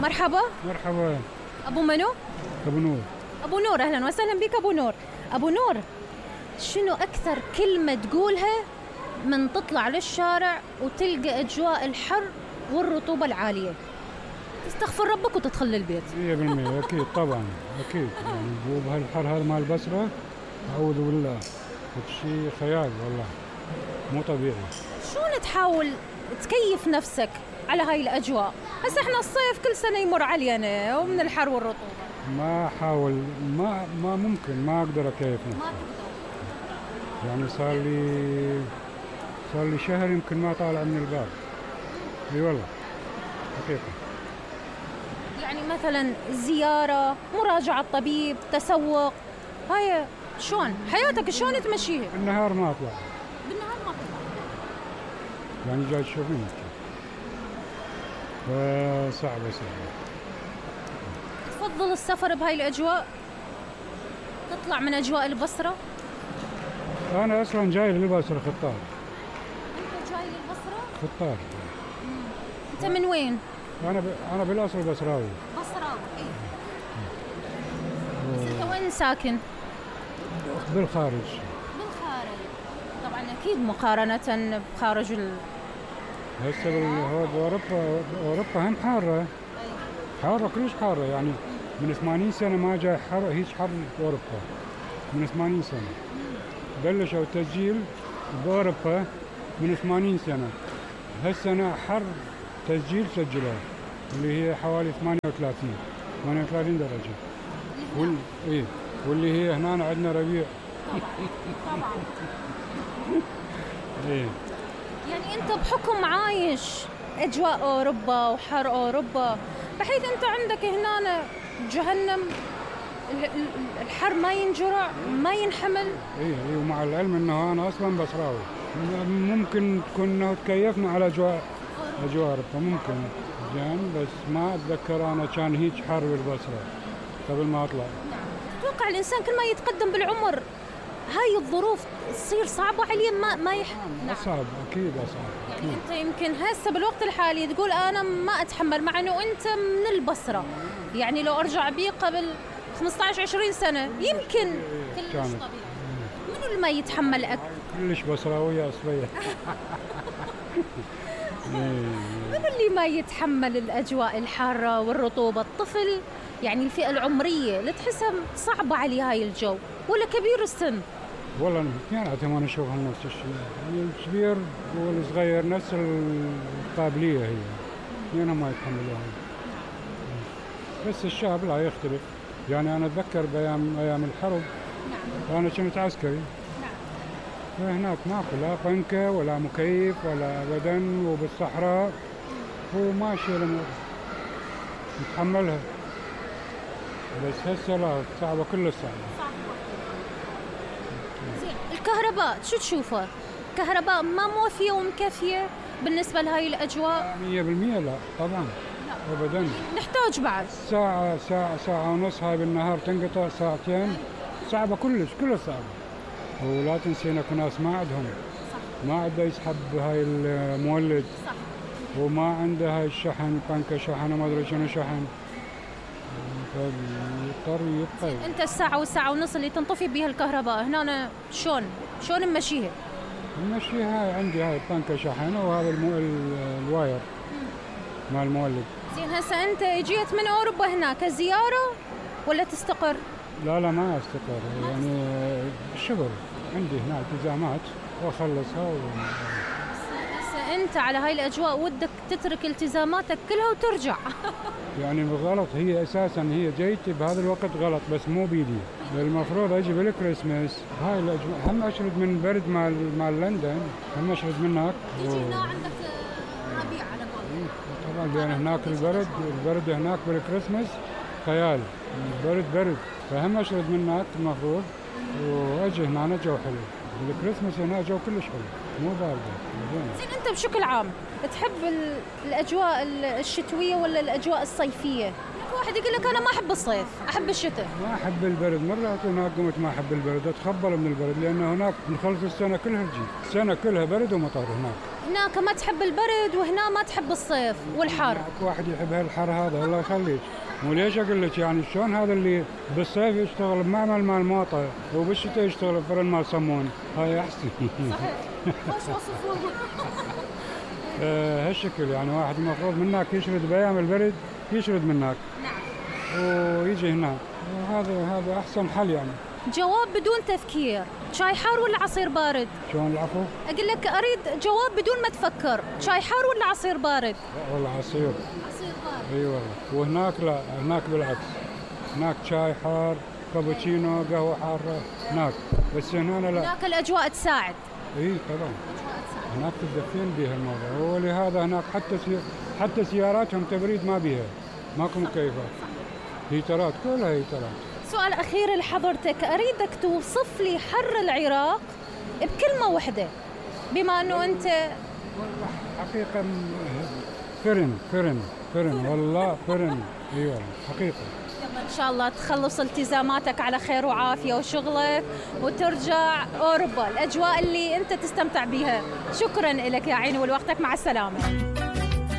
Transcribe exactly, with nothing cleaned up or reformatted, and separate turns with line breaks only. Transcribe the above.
مرحبا.
مرحبا.
أبو منو؟
أبو نور.
أبو نور، أهلا وسهلا بك أبو نور. أبو نور، شنو أكثر كلمة تقولها من تطلع للشارع وتلقى أجواء الحر والرطوبة العالية؟ تستغفر ربك وتدخل للبيت.
مية بالمية أكيد طبعا أكيد، يعني بهالحر هذا مال البصرة أعوذ بالله، شيء خيال والله مو طبيعي.
شلون تحاول تكيف نفسك على هاي الأجواء؟ هسه احنا الصيف كل سنة يمر علينا ومن الحر والرطوبة.
ما أحاول، ما ما ممكن، ما أقدر أكيف نفسي.
ما تقدر.
يعني صار لي صار لي شهر يمكن ما طالع من الباب. اي والله حقيقة.
يعني مثلا زيارة، مراجعة طبيب، تسوق، هاي شلون حياتك شلون تمشيها؟
بالنهار ما أطلع.
بالنهار ما تطلع.
يعني جاي تشوفين فصعبة صعبة.
تفضل السفر بهاي الأجواء؟ تطلع من أجواء البصرة؟
أنا أصلا جاي للبصرة خطار.
أنت جاي للبصرة؟
خطار.
أنت من وين؟
أنا ب... أنا بالأصل بصراوي.
بصراوي. إيه. بس أنت وين ساكن؟
بالخارج.
بالخارج. طبعا أكيد مقارنة بخارج ال.
هسه بال... بأوروبا أوروبا هم حارة. حارة كلش حارة، يعني من ثمانين سنة ما جاي حر هيك حر بأوروبا. من ثمانين سنة بلشوا التسجيل بأوروبا من ثمانين سنة. هالسنة حر تسجيل سجلوه اللي هي حوالي ثمانية وثلاثين ثمانية وثلاثين درجة. وال... إيه واللي هي هنا عندنا ربيع.
طبعا.
إيه.
يعني أنت بحكم عايش أجواء أوروبا وحر أوروبا، بحيث أنت عندك هنا جهنم، الحر ما ينجرع ما ينحمل.
إيه إيه ومع العلم إنه أنا أصلاً بصراوي، ممكن تكون إنه تكيفنا على أجواء أجواء أوروبا ممكن زين، بس ما أتذكر أنا كان هيك حر بالبصرة قبل ما أطلع.
أتوقع الإنسان كل ما يتقدم بالعمر هاي الظروف تصير صعبة عليه، ما ما يحمل.
أصعب أكيد أصعب.
يعني أنت يمكن هسه بالوقت الحالي تقول أنا ما أتحمل، مع إنه أنت من البصرة. يعني لو أرجع بي قبل خمسة عشر عشرين سنة يمكن كلش طبيعي. منو اللي ما يتحمل أكثر؟
كلش بصراوية أصلية.
منو اللي ما يتحمل الأجواء الحارة والرطوبة؟ الطفل يعني الفئة العمرية اللي تحسها صعبة عليه هاي الجو، ولا كبير السن؟
والله اثنيناتهم أنا أشوفهم نفس الشيء، الكبير والصغير نفس القابلية هي، اثنينهم ما يتحملوها. بس الشاب لا يختلف. يعني أنا أتذكر بأيام أيام الحرب. نعم. أنا كنت عسكري. نعم. فهناك ماكو لا بنكة ولا مكيف ولا أبدا، وبالصحراء وماشي الأمور نتحملها. بس هسه لا، صعبة كلش صعبة.
زين، الكهرباء شو تشوفه؟ كهرباء ما موفية ومكفية بالنسبة لهاي الأجواء؟
مية بالمية لا طبعا. لا أبدا.
نحتاج بعد
ساعة ساعة ساعة ونص هاي بالنهار تنقطع ساعتين. صعبة كلش كلش صعبة. ولا تنسين اكو ناس ما عندهم. صح. ما عنده يسحب هاي المولد. صح. وما عنده هاي الشحن، بنكة شحن وما ادري شنو شحن، فيضطر يبقى.
انت الساعة والساعة ونص اللي تنطفي بيها الكهرباء هنا أنا شلون شلون نمشيها؟
نمشيها عندي هاي بنكة شحن وهذا المو... الواير مع المولد.
زين، هسه انت جيت من اوروبا هنا كزيارة ولا تستقر؟
لا لا ما استقر، يعني الشغل عندي هنا التزامات واخلصها و...
هسه انت على هاي الاجواء ودك تترك التزاماتك كلها وترجع.
يعني غلط، هي اساسا هي جيتي بهذا الوقت غلط، بس مو بيدي. المفروض اجي بالكريسماس. هاي الاجواء هم اشرد من برد مال مال لندن، هم اشرد من هناك.
تجي هنا عندك ربيع على قولك.
طبعا لان هناك البرد البرد هناك بالكريسماس خيال، برد برد، فهم اشرد من هناك المفروض واجي هنا جو حلو. بالكريسماس هنا جو كلش حلو، مو باردة.
زين، انت بشكل عام تحب الاجواء الشتوية ولا الاجواء الصيفية؟ واحد يقول لك انا ما احب الصيف، احب الشتاء.
ما احب البرد، مرات هناك قمت ما احب البرد، اتخبل من البرد، لانه هناك نخلص السنة كلها تجي، السنة كلها برد ومطر هناك.
هناك ما تحب البرد وهنا ما تحب الصيف والحر.
اكو واحد يحب هالحر هذا الله يخليك. مو ليش اقول لك يعني شلون هذا اللي بالصيف يشتغل بمعمل مال موطه وبالشتاء يشتغل بفرن مال صمون، هاي احسن.
صحيح. خوش وصفوه.
آه هالشكل يعني واحد المفروض منك يشرد بايام البرد يشرد منك.
نعم.
ويجي هنا وهذا هذا احسن حل يعني.
جواب بدون تفكير، شاي حار ولا عصير بارد؟
شلون العفو؟
اقول لك اريد جواب بدون ما تفكر، شاي حار ولا عصير بارد؟
لا والله عصير.
عصير بارد.
اي والله، وهناك لا، هناك بالعكس. هناك شاي حار، كابتشينو، قهوه حاره، هناك، بس هنا لا.
هناك الاجواء تساعد.
اي طبعا. هناك تدفين بها الموضوع، ولهذا هناك حتى سي... حتى سياراتهم تبريد ما بيها، ماكو مكيفات. هيترات كلها هيترات.
سؤال اخير لحضرتك، اريدك توصف لي حر العراق بكلمه واحده، بما انه انت
والله حقيقه فرن فرن فرن والله فرن. اي والله حقيقه.
يلا ان شاء الله تخلص التزاماتك على خير وعافيه وشغلك وترجع اوروبا، الاجواء اللي انت تستمتع بها. شكرا لك يا عيني ولوقتك، مع السلامه.